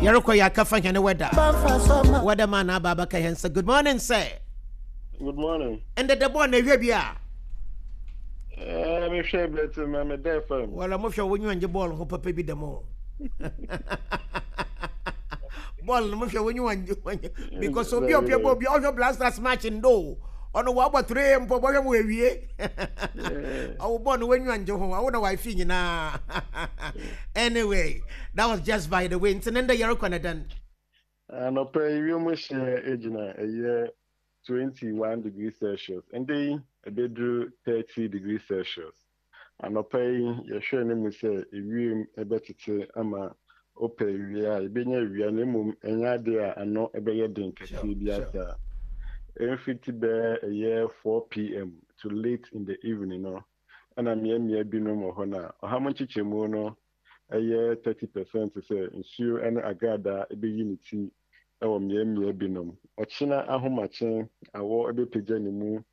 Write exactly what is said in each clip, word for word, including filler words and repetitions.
Yɛrekɔ yɛ akafa hɛn weather. Weather man aba abɛka hɛn sɛ good morning sir. Good morning. Ɛndɛ dɛ bɔɔl na ehwɛ bi a. Eh, mehwɛ bɛte ma me dɛ fam. Wala mohwɛ wo nyi wangye bɔɔl ho papa bi dɛm o. Bɔɔl no mohwɛ wo nyi wangye wangye because obi a ɔpɛ bɔɔl bi ɔhwɛ Black Stars match ndo. Ɔno wabɔ three mpo bɔhwɛ mu ewie. Ɔwɔ bɔɔl no wanyi wangye ho awo na wafi nyinaa. Anyway, that was just by the way. Nti ne ndɛ yɛrekɔ ne dɛn. Anɔpɛ yi wiem hyɛ egyina ɛyɛ twenty one degrees Celsius. Ndɛ yi ɛbɛduru thirty degrees Celsius. Anɔpɛ yi yɛhwɛ ne mu sɛ ewiem ɛbɛtete ama wopɛ ewia a ebenya ewia na mmom ɛnyɛ ade a ano ɛbɛyɛ den kɛseɛ bi asa. Ɛmfiti bɛɛ ɛyɛ four pm to late in the evening no ɛna mmeammea binom wɔ hɔ na ɔha mu nkyekyɛmu no ɛyɛ thirty percent sɛ nsuo ɛne agradaa ɛbɛyi ne ti ɛwɔ mmeammea binom. Ɔkyena ahomakye awɔ ɛbɛpagya ne mu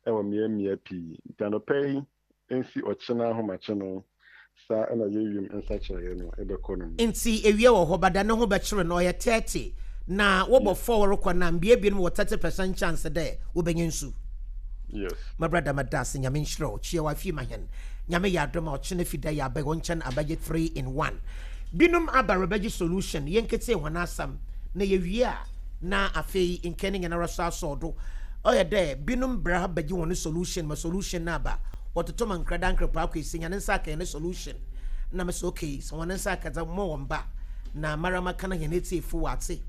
ɛwɔ mmeammea pii. Nti anɔpɛ yi nsi ɔkyena ahomakye no saa ɛna yɛwiem nsakyerɛeɛ no ɛbɛkɔ no mu. Nti ewia wɔ hɔ bada ne ho bɛkyerɛ no ɔyɛ thirty na wɔbɔ four rekɔ na mbea binom wɔ thirty percent chance dɛ wobɛnya nsu. Yes. My brother Madase nyame nhyira wo kyia wafi ma hɛn nyame yɛ adom a ɔkyena fi da yɛ abɛ wɔn nkyɛn abɛgye three in one. Binom aba rebɛgye solution yɛnkete hɔn asɛm na yɛwie a na afei nkɛn ne nyinara so asɔɔ do ɔyɛ dɛ binom brɛ ha bɛgye wɔn solution ma solution no aba wɔtoto ma nkrada nkrepa akɔ esi nyane nsa aka yɛn solution na mɛ sɛ okay sɛ wɔn nsa aka dza mo wɔn ba na marama kana yɛn etiefo wɔ ate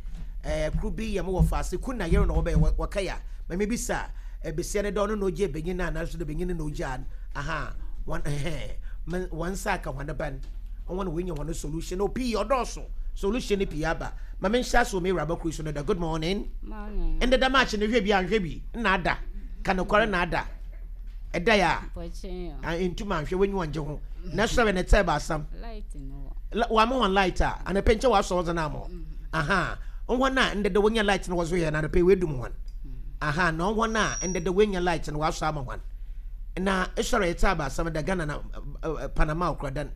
ɛɛ kuro bi yɛ mo wɔ faase kun na yɛrɛ na wɔbɛyɛ wɔka ya mɛ bisa ebesia ne dɛ ɔno na ogye benyin na anaasɛ dɛ benyin na ogye an aha wɔn ɛhɛn mɛ wɔn nsa aka wɔn ban wɔn na wɔnya wɔn solution na pii ɔdɔɔso solution ne pii aba ma me nhyɛ so me wura bakuru so no da good morning. Morning. Ɛndɛ da match no hwɛ bi anhwɛ bi na ada ka nokware na ada ɛda yɛ a Mpɔkyɛn a ntuma anhwɛ wɔnyi wɔn gye ho na sɔrɔ ne tɛ baasam light no wɔ. wɔama wɔn light a anapɛ nkyɛn wɔasɔ wɔn na mo aha wɔn a ndɛdɛ wɔnya light no wɔso yɛ na anapɛ wɔadum wɔn aha na wɔn a ndɛdɛ wɔnya light no wɔasɔ ama wɔn na esɔrɔ yɛ tɛ baasam da Ghana na Panama okura dan.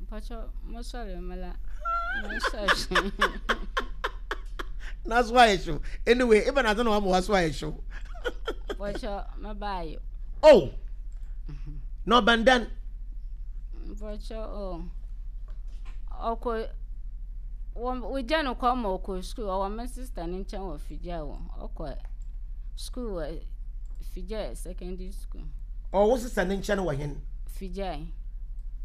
Mpɔkyɛ mo sɔrɔ mala mo sɔrɔ. Na so ayɛ hyew anyway even adze na wɔama wɔaso ayɛ hyew. Mpɔkyɛ mo baayo. Oh na ɔbandan. Mpɔkyɛ o ɔkɔ wɔn wogya no kɔ ma ɔkɔ school ɔwɔ me sister ne nkyɛn wɔ Figya wɔ ɔkɔ school wɔ Figya secondary school. Ɔwɔ sister ne nkyɛn wɔ hen? Figya.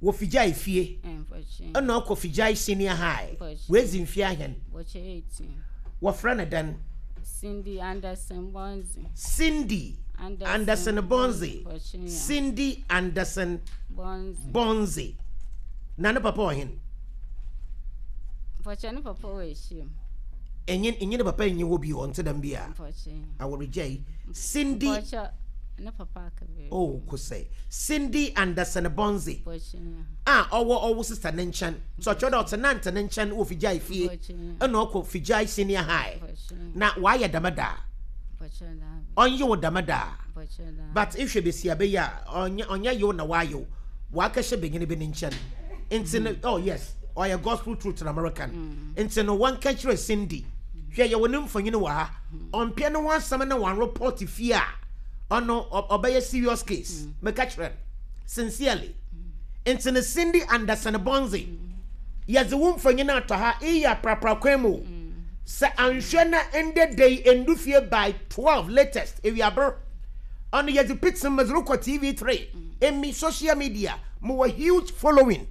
Wɔ Figya fie. Mpɔkyɛ. Ɛna ɔkɔ Figya senior high. Mpɔkyɛ. Wɔadzi mfie ahɛn. Mpɔkyɛ eighteen. Wɔfrɛ no dɛn? Cindy Anderson Bonzi. Cindy Anderson, Anderson Bonzi. Mpɔkyɛ. Cindy Anderson Bonzi. Bonzi. Na ne papa wɔ hen? Mpɔkyɛ ne papa wɔ ehyia. Enye enye ne papa enye hɔ bi ɔnte dɛm bi a. Mpɔkyɛ. Aworegya yi. Cindy. Mpɔkyɛ ne papa aka bi. Oh, kosɛ. Cindy Anderson Bonzi. Mpɔkyɛ. A ɔwɔ ɔwɔ sister ne nkyɛn. So ɔkyerɛ dɛ ɔte nante ne nkyɛn wɔ Figya fie. Mpɔkyɛ. Ɛna ɔkɔ Figya senior high. Mpɔkyɛ. Na wayɛ dɛm da. Mpɔkyɛ daa. Ɔnye wo dɛm da. Mpɔkyɛ daa. But ehwɛ besi abɛyɛ a ɔnyɛ ɔnyɛ yew na wayɛ wakɛhyɛ benyin bi ne nkyɛn. Nti no oh yes ɔyɛ gospel truth na American. Nti no wɔn ka kyerɛ Cindy. Hwɛ yɛ wɔ ne mfonyin wɔ ha. Ɔmpɛ ne ho asɛm na wɔn report fie a ɔno ɔbɛyɛ serious case. Meka kyerɛ no sincerely. Nti no Cindy Anderson Bonzi yɛdze wo mfonyin atɔ ha iyi aprapra kwan mu. Sɛ anhwɛ na ndɛ da yi ndu fie by twelve latest ewiaber. Ɔno yɛdze picture medze rekɔ T V three emi social media mowɔ huge following.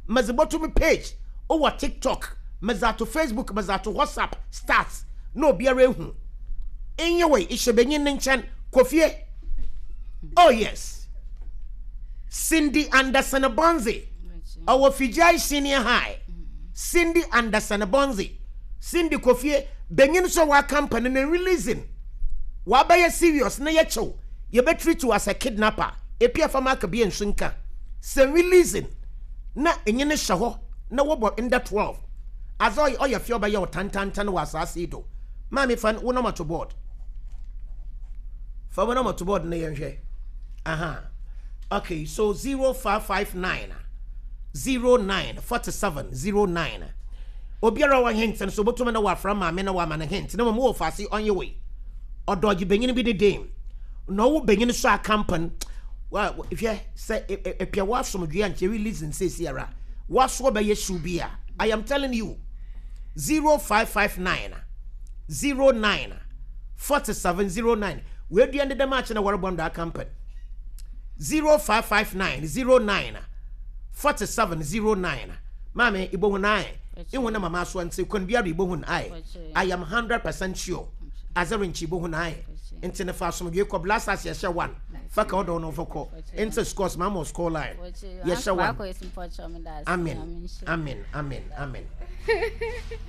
Medze bɔto me page wɔ TikTok, medze ato Facebook, medze ato WhatsApp start na obiara ehu. Nyɛ wei ihyɛ benyin ne nkyɛn kɔ fie. Oh yes. Cindy Anderson Bonzi ɔwɔ Fijai Senior High. Cindy Anderson Bonzi. Cindy kɔ fie benyin so wa company na releasing. Wabɛyɛ serious na yɛkyɛw yɛbɛ treat you as a kidnapper. Epia fama aka bi nso nka. Sɛ releasing na enye ne hyɛ hɔ na wɔbɔ nda twelve. Adze ɔyɛ ɔyɛ fie ɔbɛyɛ ɔtantantan wɔ asase yi do. Maame fa wo number to board. Fa wo number to board na yɛnhwɛ. Aha. Okay, so zero five five nine zero nine forty seven zero nine. Obiara wɔ hint no so botumi na wafra maame na wama no hint na mmom wɔ faase ɔnyɛ wei. Ɔdɔgye benyin bi ne dame. Na ɔwo benyin so akampan. Wa hwɛ sɛ epia w'asomdwe a nkyɛ release nsesi ara. W'aso bɛyɛ hyew bi a. I am telling you. zero five five nine zero nine forty-seven zero nine. Weduan de dɛm akyi na wɔrebɔ ndo akampan. zero five five nine zero nine forty-seven zero nine. Maame ibohu nine. Ihu na mama so nti kwan biara ibohu nine. I am hundred percent sure. Azerin ibohu nine. Nti ne fa asomdwe kɔ blasters yɛhyɛ one. Fa ka ɔdɔ no fɔkɔ. Nti scores mama score line. Yɛhyɛ one. Amen. Amen. Amen. Amen.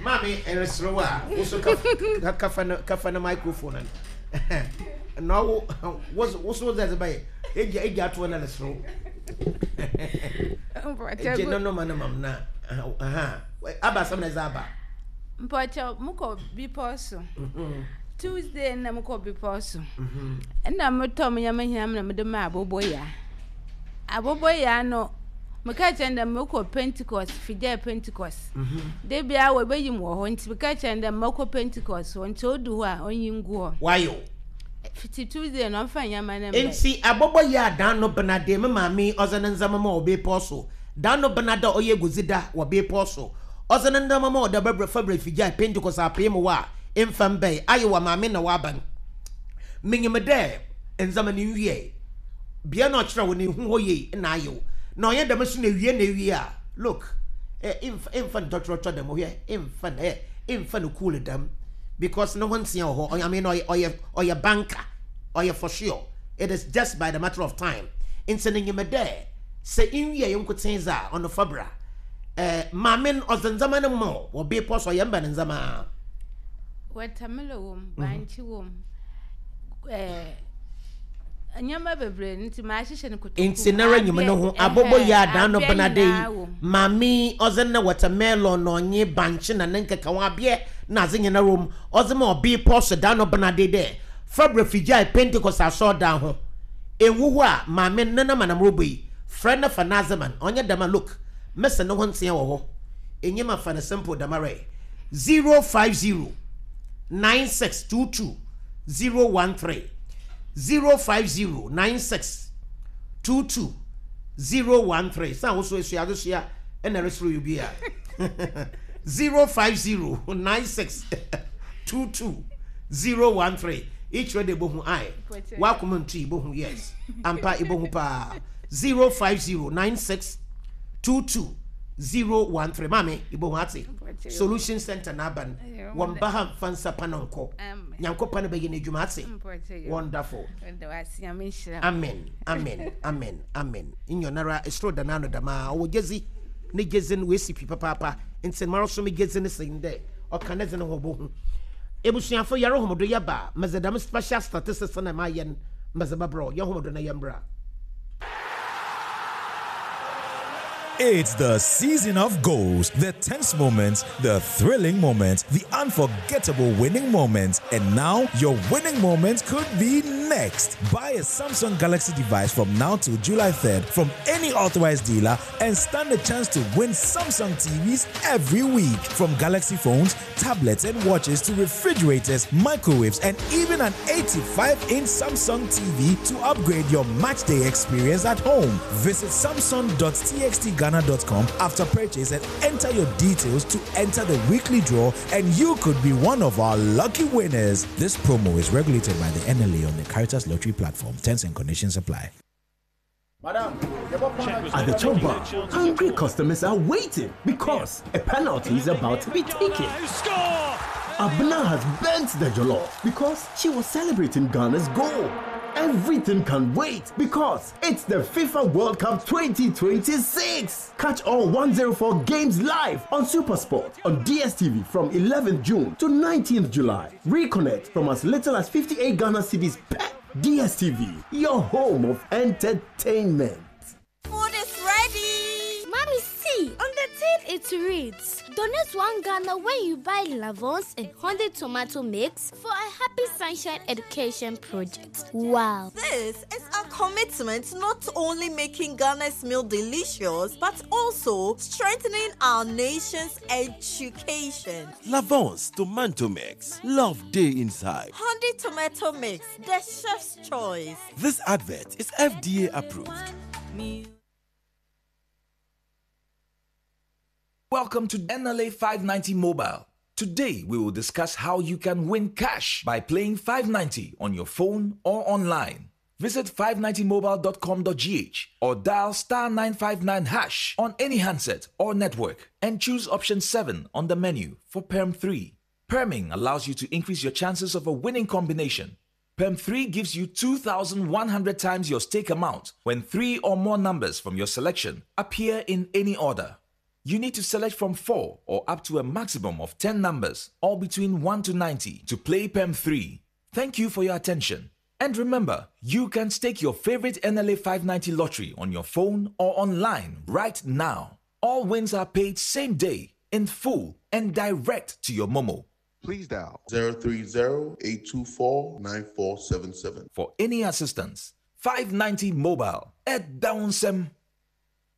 Maame eresrewa wo so ka ka na ka na microphone. No wo wo so ze ba ye. Eja eja to na lesrew. Eje no no man mam na. Aha. Aba sam na zaba. Mpocho muko biposo. Tuesday na muko biposo. Na muto nyama hiam na mede ma aboboya. Aboboya no meka kyerɛ ndɛ mekɔ Pentecost, fidja Pentecost. De bia wo be yim wo ho nti meka kyerɛ ndɛ mekɔ Pentecost ho nti odu ho a onyi ngu ho. Wayo. Fiti Tuesday no mfa nyama na mbe. Nti aboboya dan no bena de me maame ɔze ne nzama ma obe poso. Dan no bena da oye gozida wo be poso. Ɔze ne nzama ma oda bebre fabre fidja Pentecost apem wa emfam be aye wa maame na wa ban. Minyim de nzama ni nwie. Bia na ɔkyerɛ wo ne hu ho ye na ayew. Na ɔyɛ dɛm so na wie na wie a look eh imfa ntɔtrɔtrɔ dɛm hwɛ imfa na eh imfa no cool dɛm because no one tia hɔ. I mean ɔyɛ ɔyɛ banker ɔyɛ for sure. It is just by the matter of time. Nti ne nyim dɛ sɛ nwie yɛ nkoten za ɔno fabra eh maame ɔdze ndzɛmba no mo wɔ be pɔ so ɔyɛ mba ne ndzɛmba watermelon wom bankye wom eh nyama bebre nti ma ahyehyɛ no kotoku nti na ranyim no ho abobo ya adan no benade mami ɔdze na watermelon no onye bankye na nkeka ho abie na adze nyina rom ɔdze ma obi pɔ so dan no benade de fabre fijai Pentecost asɔ dan ho enwu ho a mami nana manam robo yi frɛ na fa nazeman onye dama look mese no ho ntia wɔ hɔ enyima fa na simple damare zero five zero nine six two two zero one three zero five zero nine six two two zero one three. Sa wo so esua adesua e na resro you bia. zero five zero nine six two two zero one three. Each ready bohu ai. Wa kuma ntu bohu yes. Ampa ibohu pa zero five zero nine six two two zero one three. Mami ibohu ate. Solution Center na ban. Won ba ha fansa panonko. Nyankopa na be ye nedwuma ate. Wonderful. Amen. Amen. Amen. Amen. Inyonara esro danano dama o jezi ne jezi no we si papa papa. Nti maro so me jezi ne sin de. O kaneze ne ho bo hu. Ebusuafo yare homodo ye ba mezedam special statistics na ma yen mezebabro ye homodo na yembra. It's the season of goals, the tense moments, the thrilling moments, the unforgettable winning moments. And now, your winning moment could be next. Buy a Samsung Galaxy device from now till July third from any authorized dealer and stand a chance to win Samsung T Vs every week. From Galaxy phones, tablets and watches to refrigerators, microwaves, and even an eighty-five inch Samsung T V to upgrade your matchday experience at home. Visit samsung dot t x t ghana dot com after purchase and enter your details to enter the weekly draw, and you could be one of our lucky winners. This promo is regulated by the N L A on the Caritas Lottery platform. Terms and conditions apply. Madam, at the chop bar, hungry customers are waiting because a penalty is about to be taken. Abna has burnt the jollof because she was celebrating Ghana's goal. Everything can wait because it's the FIFA World Cup twenty twenty-six. Catch all one zero four games live on SuperSport on D S T V from eleventh June to nineteenth July. Reconnect from as little as fifty-eight Ghana cedis per D S T V, your home of entertainment. Food is ready. Mommy, see, on the tin It reads, Donate one Ghana when you buy Lavons and Honda tomato mix for a Happy Sunshine Education project. Wow. This is a commitment not only making Ghana's meal delicious, but also strengthening our nation's education. Lavon's tomato mix. Love day inside. Honda tomato mix, the chef's choice. This advert is F D A approved. Welcome to N L A five ninety Mobile. Today, we will discuss how you can win cash by playing five ninety on your phone or online. Visit five ninety mobile dot com dot G H or dial star nine five nine hash on any handset or network and choose option seven on the menu for Perm three. Perming allows you to increase your chances of a winning combination. Perm three gives you two thousand one hundred times your stake amount when three or more numbers from your selection appear in any order. You need to select from four or up to a maximum of ten numbers, all between one to ninety, to play P E M three. Thank you for your attention. And remember, you can stake your favorite N L A five ninety lottery on your phone or online right now. All wins are paid same day, in full, and direct to your Momo. Please dial zero three zero, eight two four, nine four seven seven. For any assistance, five ninety Mobile at Downsem.